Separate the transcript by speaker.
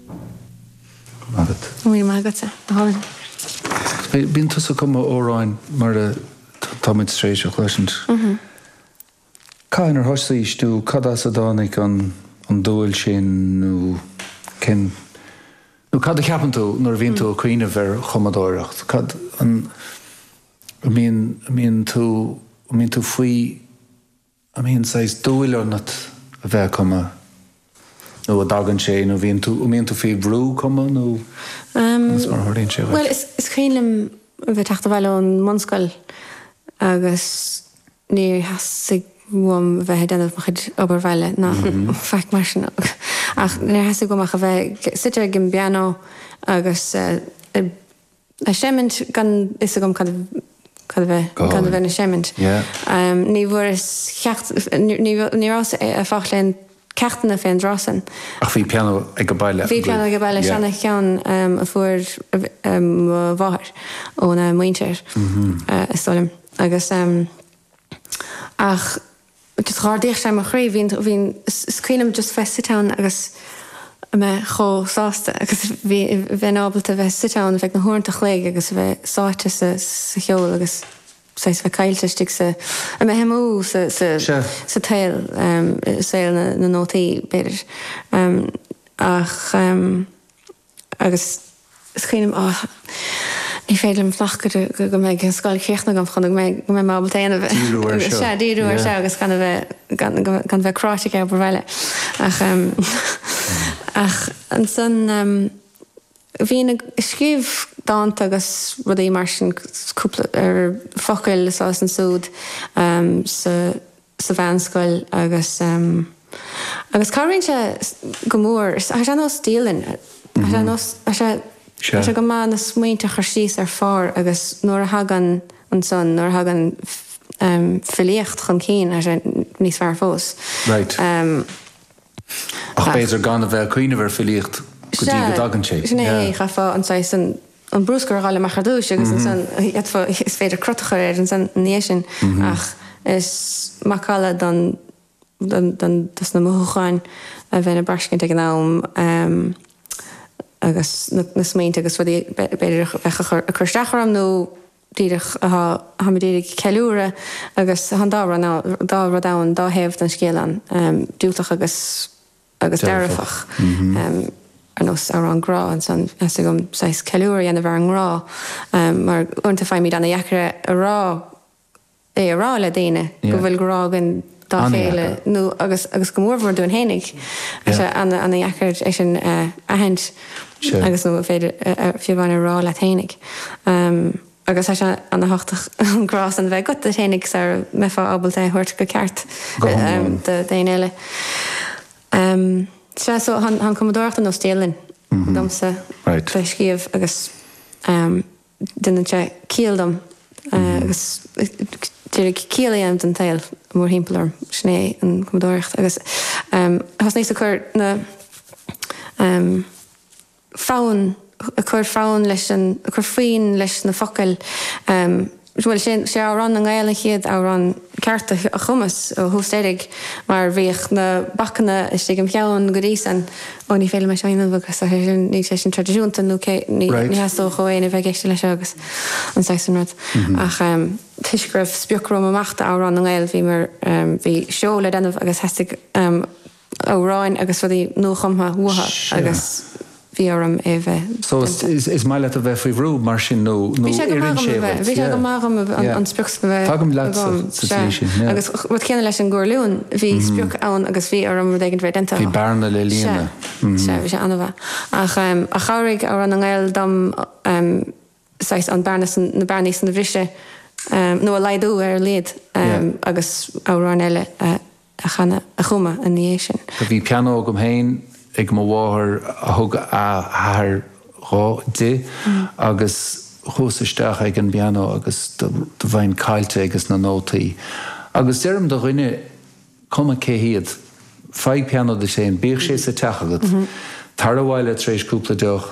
Speaker 1: Go maith agat.
Speaker 2: Go raibh maith agatsa. Go hálainn.
Speaker 1: Bíonn tusa ag cumadh amhráin mar atá muid tar éis a chloisint. Cathain ar thosaís nó cad as a dtáinig an dúil sin nó cén nó cad a cheapann tú nuair a bhíonn tú ag cuimhneamh ar chumadóireacht? Cad an an mbíonn an mbíonn tú an mbíonn tú faoi an mbíonn saghas dúil ionat a bheith ag cumadh nó an dtagann sé nó bhíonn tú an mbíonn tú faoi bhrú cumadh nó conas mar a tharlaíonn sé
Speaker 2: dhuit? Bhuel is is cuimhin liom a bheith ag teacht abhaile ón mbunscoil agus níor theastaigh uaim a bheith ag déanamh mo chuid obair bhaile ná faic mar sin ach níor theastaigh uaim ach a bheith suite ag an bpianó agus ag seimint gan fhios agam cad cad a bheith cad a bheinn ag seimint. Ní bhfuaireas ceacht ní rabhas ag fáil aon ceachtanna fén dtráth san.
Speaker 1: Ach bhí pianó ag baile
Speaker 2: Bhí pianó ag baile, seana cheann a fuair mo mháthair óna muintir is dóigh liom. Agus ach just dh'ardaíodh sé mo chroí, bhí bhí is cuimhin liom just bheith suite ann agus a mbeith chomh sásta agus bhí bheinn ábalta bheith suite ann ar feadh na huaireanta a chloig agus a bheith sáite sa sa cheol agus saghas bheith caillte istigh sa, a mbeith amú sa, sa, sa tsaol, saol na, na nótaí, b'fhéidir. Ach, agus is cuimhin liom, á, ní féidir liom fanacht go, go, go mbeidh an scoil críochnaithe agam chun go mbeidh, go mbeidh mé ábalta é a dhéanamh.
Speaker 1: Díriú air seo.
Speaker 2: Sea, díriú air seo agus gan a bheith, gan, gan bheith cráite ag obair bhaile. Ach, ach ansan, Bhínn ag scríobh dánta agus rudaí mar sin, cúpla ar focail anso is ansúd sa sa mheánscoil agus agus cabhraíonn sé go mór. Tá sé ar nós dialann, tá sé ar nós, tá sé tá sé go maith na smaointe a chur síos ar phár agus nuair a thagann ansan, nuair a thagann filíocht chun cinn, tá sé níos fearr fós.
Speaker 1: Right. Ach b'fhéidir gan a bheith ag cuimhneamh ar filíocht go dtí go dtagann sé.
Speaker 2: Sin é, chaithfeá an saghas, an bruscar a dh'fháil amach ar dtúis agus ansan d'fhéadfá, is féidir crot a chur air ansan ina dhiaidh sin ach is macalla don, don, don, dos na mothúcháin a bheinn ag braiscint ag an am agus na, na smaointe agus rudaí b'fhéidir a bheadh ag cur isteach orm nó díreach atá, táimid ag ceiliúradh agus tá an dá rud ann, dá rud ann, dá thaobh den scéal ann, diúltach agus, agus dearfach. Ar nós amhrán grá ansan, theastaigh uaim saghas ceiliúradh a dhéanamh ar an ngrá mar uaireanta faighimid ana-dheacair é a rá, é a rá le daoine go bhfuil grá againn dá chéile nó agus agus go mórmhór dúinn fhéinig. Tá sé ana-dheacair é sin a aithint agus nó féidir fiú amháin a rá leat fhéinig. Agus tá sé ana-thábhachtach an grá san a bheith agat duit fhéinig sara mbeifeá ábalta é a thabhairt go ceart do éinne eile. Sea, so tá an cumadóireacht ar nós dialann domsa bheith ag scríobh agus. Déanann sé ciall dom agus d'iarraidh ciall a dhéanamh den tsaol mórthimpeall orm. Sin é an cumadóireacht. Agus thosnaíos ag cur na fonn, ag cur fonn leis an, ag cur foinn leis na focail. Bhuel, sé sé Amhrán na nGael an chéad amhrán ceart a chumas ó thús deiridh mar bhíodh na bacanna istigh im cheann go dtí san. Ó ní féidir liom é seo a dhéanamh agus tá sé sin, níl sé sin traidisiúnta nó cé, ní theastódh ó éinne bheith ag éisteacht leis seo agus an saghas sin rud. Ach toisc go raibh sprioc romham amach d'Amhrán na nGael bhí mar, bhí seó le déanamh agus theastaigh amhráin agus rudaí nuachumtha uathu agus bhí orm é a bheith
Speaker 1: So is maith leat a bheith faoi bhrú mar sin nó
Speaker 2: nó oireann sé duit? Bhí sé go maith dhom an sprioc san a bheith
Speaker 1: Tagaim leat sa tslí sin,
Speaker 2: yeah. Agus rud céanna leis an gCorrliún, bhí sprioc ann agus bhí orm rud éigin a bheith déanta.
Speaker 1: Bhí bearna le
Speaker 2: líonadh. Sea, bhí sé an-mhaith. Ach chabhraigh Amhrán na nGael dom saghas an bearna san, na bearnaí san a bhriseadh nó a laghdú ar a laghad agus amhráin eile a a chanadh, a chumadh ina dhiaidh sin.
Speaker 1: Bhí pianó agam féin ag mo mháthair a thug a hathair dhó, di agus chuas isteach ag an bpianó agus do bheinn caillte ages na nótaí. Agus deirim do dhuine, cuma cé hiad, faigh pianó duit féin, bíodh sé sa teach agat, tar abhaile tar éis cúpla deoch.